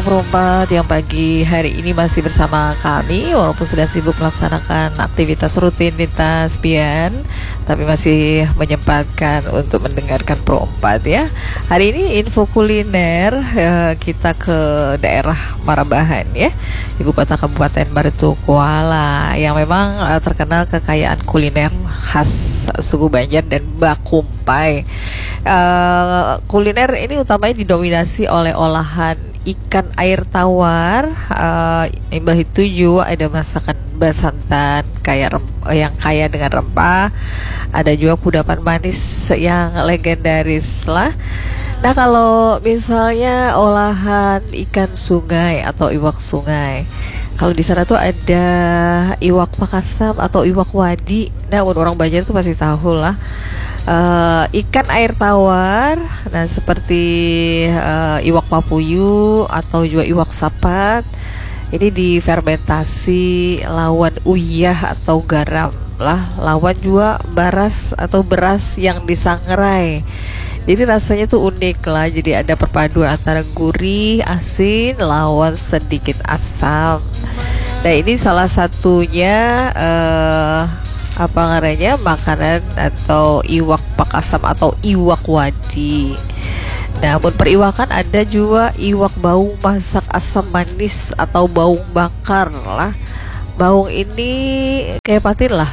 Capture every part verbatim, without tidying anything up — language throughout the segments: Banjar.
Perumpat yang pagi hari ini masih bersama kami, walaupun sudah sibuk melaksanakan aktivitas rutinitas pian, tapi masih menyempatkan untuk mendengarkan Perumpat ya. Hari ini info kuliner, eh, kita ke daerah Marabahan ya, ibu kota Kabupaten Baritung Kuala, yang memang, eh, terkenal kekayaan kuliner khas suku Banjar dan bakumpai. Eh, kuliner ini utamanya didominasi oleh olahan ikan air tawar, eh, imbah itu juga ada masakan basantan kaya rem-, yang kaya dengan rempah, ada juga kudapan manis yang legendaris lah. Nah, kalau misalnya olahan ikan sungai atau iwak sungai, kalau di sana tuh ada iwak pakasam atau iwak wadi. Nah, mun orang Banjar tuh pasti tahu lah. Eh, ikan air tawar, nah, seperti, eh, iwak papuyu atau juga iwak sapat, ini difermentasi lawan uyah atau garam lah, lawan juga baras atau beras yang disangrai. Jadi rasanya tuh unik lah. Jadi ada perpaduan antara gurih, asin, lawan sedikit asam. Nah, ini salah satunya, eh, apa ngarannya, makanan atau iwak pakasam atau iwak wadi. Nah, mun periwakan ada juga iwak baung masak asam manis atau baung bakar lah. Baung ini kayak patin lah,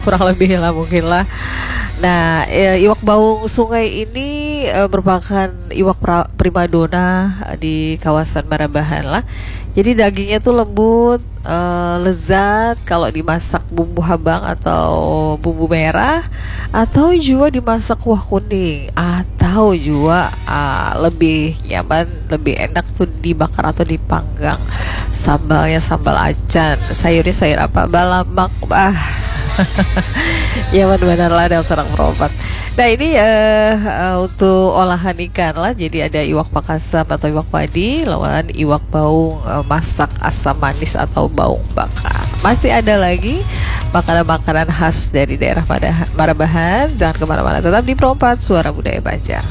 kurang lebih lah mungkin lah. Nah, eh, iwak baung sungai ini, eh, merupakan iwak pra-, primadona di kawasan Marabahan lah. Jadi dagingnya tuh lembut, eh, lezat kalau dimasak bumbu habang atau bumbu merah, atau juga dimasak kuah kuning, atau juga, ah, lebih nyaman, lebih enak tuh dibakar atau dipanggang. Sambalnya sambal acan, sayurnya sayur apa? Balamak, bah. Nyaman benar lah dasar perompat. Nah, ini, eh, eh, untuk olahan ikan lah. Jadi ada iwak pakasam atau iwak padi, lawan iwak baung, eh, masak asam manis atau baung bakar. Masih ada lagi makanan-makanan khas dari daerah pada Marabahan. Jangan kemana-mana, tetap di Perompat Suara Budaya Banjar.